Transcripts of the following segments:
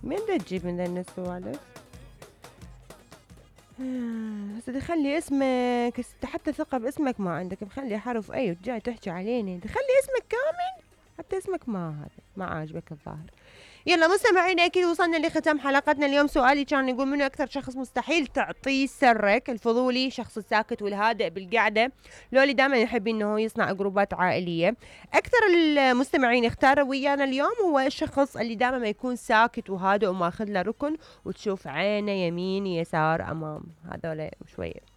من دا تجيب من ذا السوالف؟ هسه تخلي اسمك، حتى ثقة باسمك ما عندك، مخلي حرف اي وجاي تحكي علينا، تخلي اسمك كامل، حتى اسمك ما عاجبك الظاهر. يلا مستمعينا، اكيد وصلنا لختام حلقتنا اليوم. سؤالي كان يقول منو اكثر شخص مستحيل تعطيه سرك؟ الفضولي، شخص الساكت والهادئ بالقعده، لو اللي دائما يحب انه يصنع جروبات عائليه. اكثر المستمعين اختاروا ويانا اليوم هو الشخص اللي دائما ما يكون ساكت وهادئ وماخذ له ركن وتشوف عينه يمين يسار امام، هذول شويه.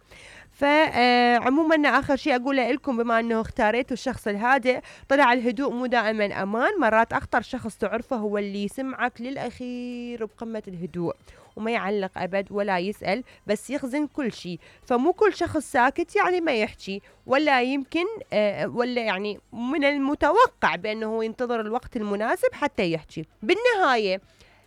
فعموما اخر شيء اقوله لكم، بما انه اختاريتوا الشخص الهادئ، طلع الهدوء مو دائما امان، مرات اخطر شخص تعرفه هو اللي يسمعك للاخير بقمة الهدوء وما يعلق ابد ولا يسأل، بس يخزن كل شيء. فمو كل شخص ساكت يعني ما يحكي، ولا يمكن ولا يعني من المتوقع بانه ينتظر الوقت المناسب حتى يحكي. بالنهاية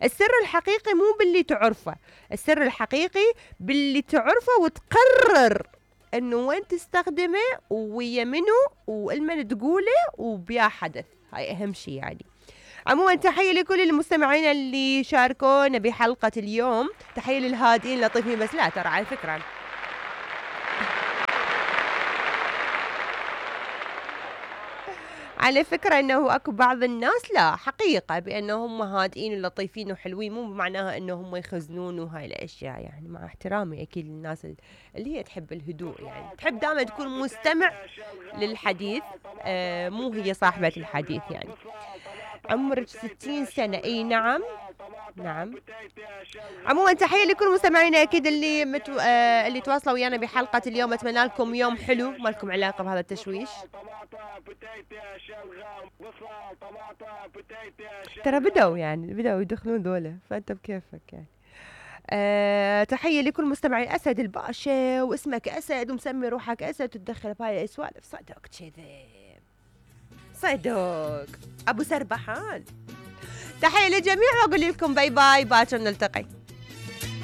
السر الحقيقي مو باللي تعرفه، السر الحقيقي باللي تعرفه وتقرر انه وين تستخدمه ويا منو والمن تقوله وبيا حدث. هاي اهم شيء يعني. عموما تحية لكل المستمعين اللي شاركونا بحلقة اليوم، تحية للهادئين لطيفين، بس لا ترى على فكرة انه اكو بعض الناس لا حقيقة بانه هم هادئين ولطيفين وحلوين، مو معناها انه هم يخزنون وهاي الاشياء يعني، مع احترامي اكيد للناس اللي هي تحب الهدوء، يعني تحب دائما تكون مستمع للحديث، مو هي صاحبة الحديث يعني. عمرك 60 سنة، اي نعم. عموما تحية لكل مستمعينا اكيد اللي تواصلوا ويانا بحلقة اليوم. اتمنى لكم يوم حلو، ما لكم علاقة بهذا التشويش. ترى بدأوا يدخلون ذولا، فانت بكيفك يعني. تحية لكل مستمعين أسد الباشا، واسمك أسد ومسمي روحك أسد تتدخل بهاي السوالف، صدق كذي، صدق أبو سربحان. تحية للجميع وأقول لكم باي باي، باكر نلتقي.